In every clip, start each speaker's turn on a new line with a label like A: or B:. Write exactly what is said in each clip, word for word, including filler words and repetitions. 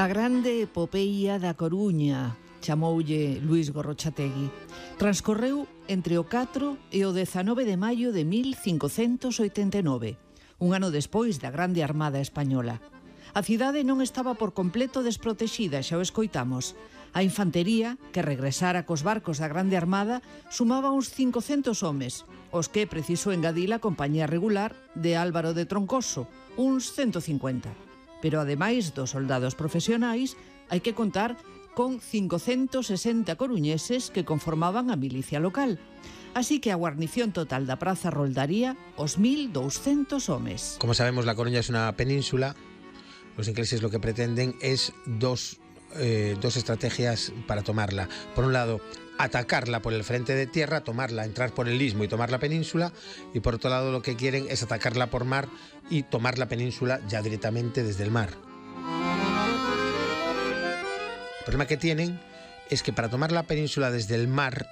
A: A grande epopeia da Coruña, chamoulle Luís Gorrochategui, transcorreu entre o catro e o dezanove de maio de mil cincocentos oitenta e nove, un ano despois da Grande Armada Española. A cidade non estaba por completo desprotexida, xa o escoitamos. A infantería, que regresara cos barcos da Grande Armada, sumaba uns cincocentos homes, os que precisou engadir a compañía regular de Álvaro de Troncoso, uns ciento cincuenta. Pero ademais dos soldados profesionais, hai que contar con cincocentos sesenta coruñeses que conformaban a milicia local. Así que a guarnición total da praza roldaría os mil douscentos homes.
B: Como sabemos, la Coruña es una península. Los ingleses lo que pretenden es dos, eh, dos estrategias para tomarla. Por un lado, atacarla por el frente de tierra, tomarla, entrar por el istmo y tomar la península, y por otro lado lo que quieren es atacarla por mar y tomar la península ya directamente desde el mar. El problema que tienen es que para tomar la península desde el mar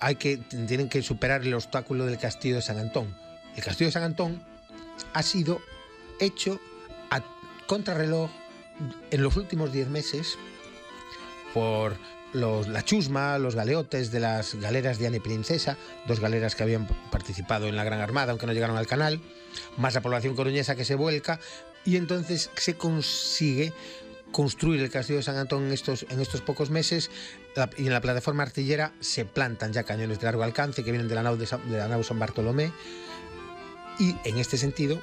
B: hay que, tienen que superar el obstáculo del castillo de San Antón. El castillo de San Antón ha sido hecho a contrarreloj en los últimos diez meses por los, la chusma, los galeotes de las galeras Diana y Princesa, dos galeras que habían participado en la Gran Armada, aunque no llegaron al canal, más la población coruñesa que se vuelca, y entonces se consigue construir el castillo de San Antón en estos, en estos pocos meses, la, y en la plataforma artillera se plantan ya cañones de largo alcance que vienen de la nau de, San, de la nau San Bartolomé, y en este sentido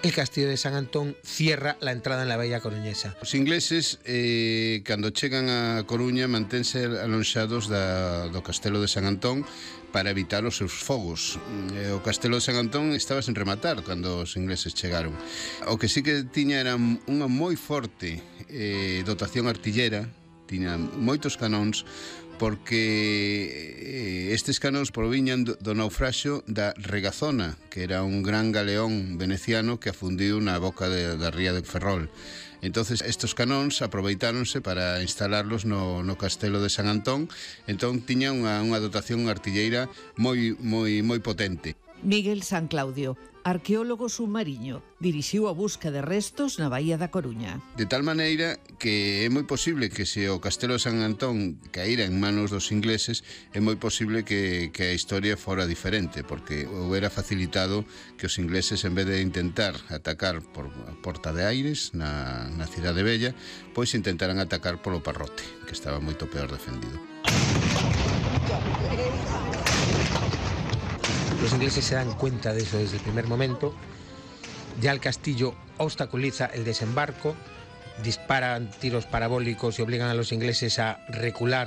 B: el castillo de San Antón cierra la entrada en la bella coruñesa.
C: Os ingleses, eh, cando chegan a Coruña, mantense alonxados da, do castelo de San Antón para evitar os seus fogos. Eh, o castelo de San Antón estaba sen rematar cando os ingleses chegaron. O que sí que tiña era unha moi forte eh, dotación artillera, tiña moitos canóns, porque estes canóns proviñan do, do naufraxio da Regazona, que era un gran galeón veneciano que afundiu na boca de, da ría de Ferrol. Entonces estos canóns aproveitáronse para instalarlos no, no castelo de San Antón. Entón tiña unha, unha dotación artilleira moi, moi, moi potente.
A: Miguel San Claudio, arqueólogo submarino, dirixiu a busca de restos na Baía da Coruña.
C: De tal maneira que é moi posible que se o castelo de San Antón caíra en manos dos ingleses, é moi posible que, que a historia fora diferente, porque houbera facilitado que os ingleses, en vez de intentar atacar por a Porta de Aires, na, na Cidade Bella, pois intentaran atacar polo Parrote, que estaba moito peor defendido.
B: Los ingleses se dan cuenta de eso desde el primer momento. Ya el castillo obstaculiza el desembarco, disparan tiros parabólicos y obligan a los ingleses a recular